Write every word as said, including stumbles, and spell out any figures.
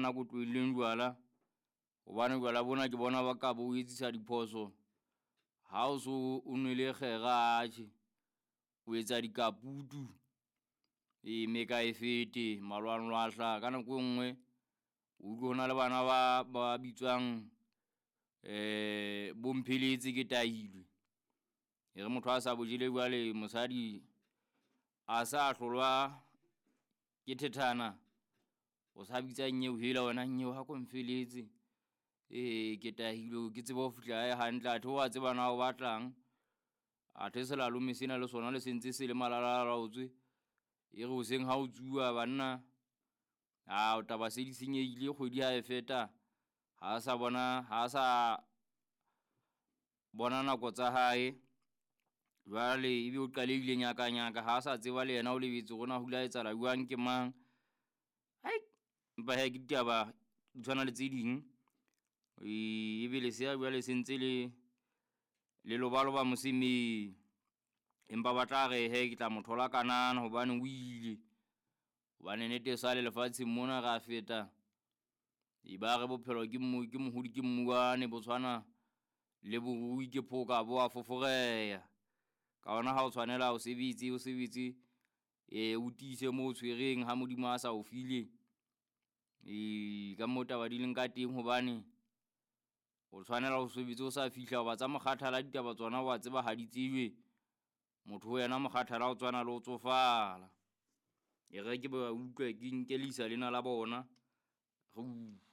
banna ko tlohelleng jwala. Hobane jwala bona ke bona ba ka bo o etsisa diphoso. Ha o so o nwele kgera atjhe, o etsa dikaputu. E mme ka e fete malwanglwahla ka nako e nngwe o utlwe ho na le bana ba ba bitswang eh bompheletse ke tahilwe. E re motho a sa bo jele jwale mosadi a sa hlolwa ke thethana, o sa bitsa nyeo hela wena nyeo ha ko mfeletse. Ee, ke tahilwe ke tsebe ho fihla hae hantle, athe wa tseba na o batlang. Athe selalome sena le sona le sentse se le malalalaotswe. E re hoseng ha o tsuwa banna, a taba se di senyehile kgwedi ha e feta. Ha sa bona, ha sa bona nako tsa hae. Jwale ebe o qalehile nyaka nyaka, ha sa tseba le yena o lebetse hore na ho ile ha etsahala jwang ke mang. Hai, empa hee ke ditaba di tshwana le tse ding. E ebe lesea jwale se ntse le le lobaloba mosemeng. Empa ba tla re he ke tla mo thola kanana hobane o ile. Hobane nnete e sale lefatsheng mona ra feta. E ba re bophelo ke mmu, ke mohodi ke mmuwane bo tshwana le borui ke phoka bo a foforeha. Ka hona ha o tshwanela o sebetse, o sebetse e o tiise mo o tshwereng ha Modimo a sa o file. E ka moo taba di leng ka teng hobane o tshwanela o sebetse o sa fihla hoba tsa mokgathala ditaba tsona wa tseba ha di tsejwe. Motho ho yena mokgathala o tswana le ho tsofala. E re ke ba utlwe ke nke leisa lena la bona. Re utlwe.